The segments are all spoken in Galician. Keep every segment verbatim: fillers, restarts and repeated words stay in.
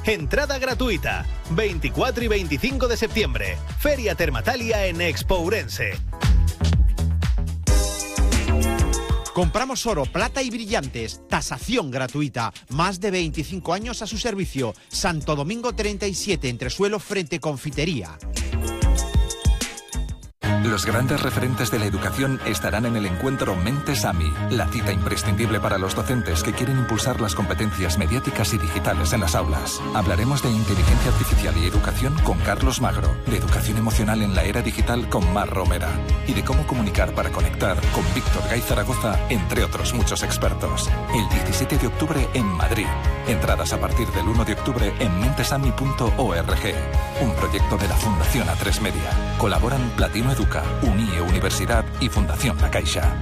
Entrada gratuita. veinticuatro y veinticinco de septiembre. Feria Termatalia en Expo Ourense. Compramos oro, plata y brillantes. Tasación gratuita. Más de veinticinco años a su servicio. Santo Domingo treinta y siete, entresuelo frente Confitería. Los grandes referentes de la educación estarán en el encuentro Mentes A M I, la cita imprescindible para los docentes que quieren impulsar las competencias mediáticas y digitales en las aulas. Hablaremos de inteligencia artificial y educación con Carlos Magro, de educación emocional en la era digital con Mar Romera y de cómo comunicar para conectar con Víctor Gay Zaragoza, entre otros muchos expertos. El diecisiete de octubre en Madrid. Entradas a partir del uno de octubre en mentesami punto org. Un proyecto de la Fundación A tres Media. Colaboran Platino Educa, Unie Universidad y Fundación La Caixa.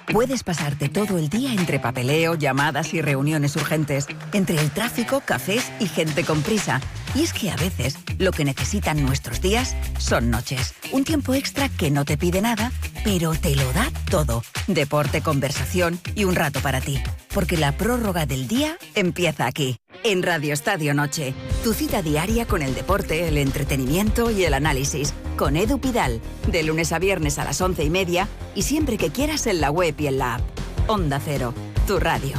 Puedes pasarte todo el día entre papeleo, llamadas y reuniones urgentes, entre el tráfico, cafés y gente con prisa. Y es que a veces lo que necesitan nuestros días son noches. Un tiempo extra que no te pide nada, pero te lo da todo. Deporte, conversación y un rato para ti. Porque la prórroga del día empieza aquí, en Radio Estadio Noche. Tu cita diaria con el deporte, el entretenimiento y el análisis. Con Edu Pidal, de lunes a viernes a las once y media y siempre que quieras en la web y en la app. Onda Cero, tu radio.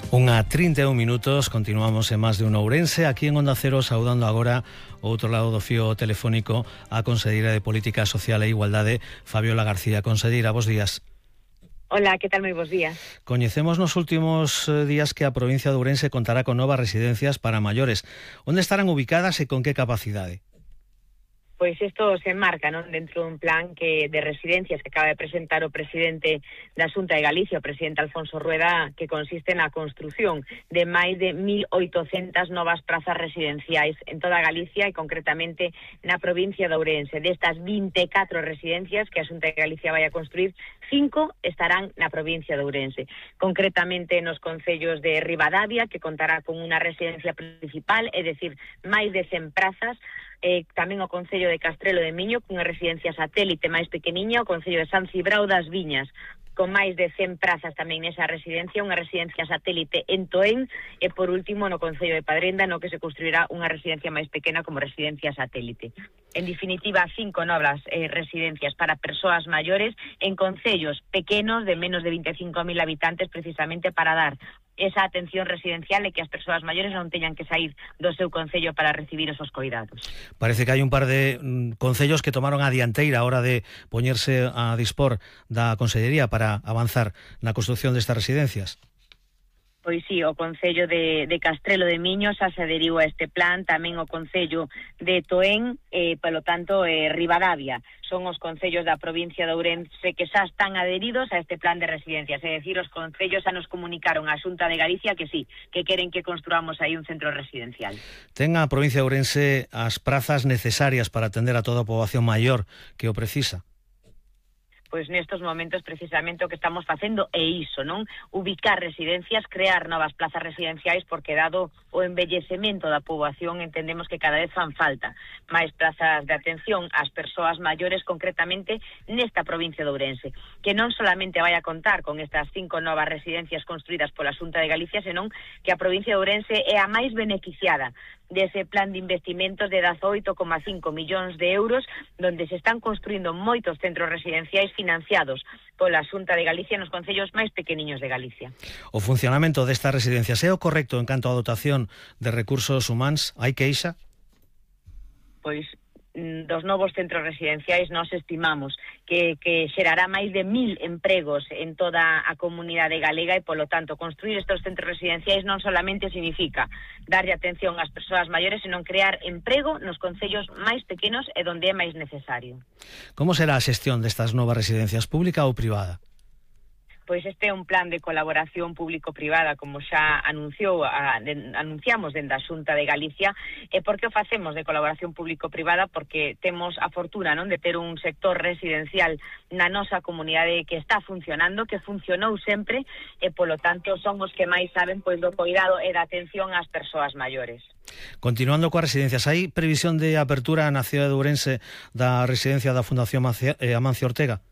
Unha trinta e un minutos, continuamos en Más de un Ourense, aquí en Onda Cero, saudando agora ao outro lado do fío telefónico a Conselleira de Política Social e Igualdade, Fabiola García. Conselleira, bos días. Hola, que tal? Moi bos días. Coñecemos nos últimos días que a provincia de Ourense contará con novas residencias para maiores. Onde estarán ubicadas e con que capacidade? Pois isto se enmarca, non, dentro dun plan que de residencias que acaba de presentar o presidente da Xunta de Galicia, o presidente Alfonso Rueda, que consiste na construción de máis de mil oitocentas novas prazas residenciais en toda Galicia e concretamente na provincia de Ourense. Destas vinte e catro residencias que a Xunta de Galicia vai a construir, cinco estarán na provincia de Ourense. Concretamente nos concellos de Ribadavia, que contará con unha residencia principal, é dicir, máis de cen prazas, Eh, tamén o Concello de Castrelo de Miño, cunha residencia satélite máis pequeniña, o Concello de San Cibrao das Viñas, con máis de cen prazas tamén nesa residencia, unha residencia satélite en Toén, e por último no Concello de Padrenda, no que se construirá unha residencia máis pequena como residencia satélite. En definitiva, cinco novas eh, residencias para persoas maiores en concellos pequenos de menos de veinticinco mil habitantes, precisamente para dar esa atención residencial e que as persoas maiores non teñan que sair do seu concello para recibir esos coidados. Parece que hai un par de mm, concellos que tomaron a dianteira a hora de poñerse a dispor da Consellería para avanzar na construción destas residencias. Pois sí, o Concello de, de Castrelo de Miño xa se adheriu a este plan, tamén o Concello de Toén, e, polo tanto, eh, Ribadavia. Son os concellos da provincia de Ourense que xa están adheridos a este plan de residencias. É dicir, os concellos xa nos comunicaron á Xunta de Galicia que sí, que queren que construamos aí un centro residencial. Ten a provincia de Ourense as prazas necesarias para atender a toda a poboación maior que o precisa? Pois nestos momentos precisamente o que estamos facendo é iso, non? Ubicar residencias, crear novas plazas residenciais, porque dado o envellecemento da poboación entendemos que cada vez fan falta máis plazas de atención ás persoas maiores, concretamente nesta provincia de Ourense, que non solamente vai a contar con estas cinco novas residencias construídas pola Xunta de Galicia, senón que a provincia de Ourense é a máis beneficiada dese plan de investimentos de dezaoito coma cinco millóns de euros, donde se están construindo moitos centros residenciais financiados pola Xunta de Galicia nos concellos máis pequeniños de Galicia. O funcionamento destas residencias é o correcto en canto á dotación de recursos humanos? Hai queixa? Pois dos novos centros residenciais nós estimamos que, que xerará máis de mil empregos en toda a comunidade galega e, polo tanto, construir estes centros residenciais non solamente significa darlle atención ás persoas maiores, senón crear emprego nos concellos máis pequenos e onde é máis necesario. Como será a xestión destas novas residencias, pública ou privada? Pois este é un plan de colaboración público-privada, como xa anunciou, a, de, anunciamos dende a Xunta de Galicia. E por que o facemos de colaboración público-privada? Porque temos a fortuna, non, de ter un sector residencial na nosa comunidade que está funcionando, que funcionou sempre, e polo tanto son os que máis saben pois do cuidado e da atención ás persoas maiores. Continuando coas residencias, hai previsión de apertura na cidade de Ourense da residencia da Fundación Amancio Ortega?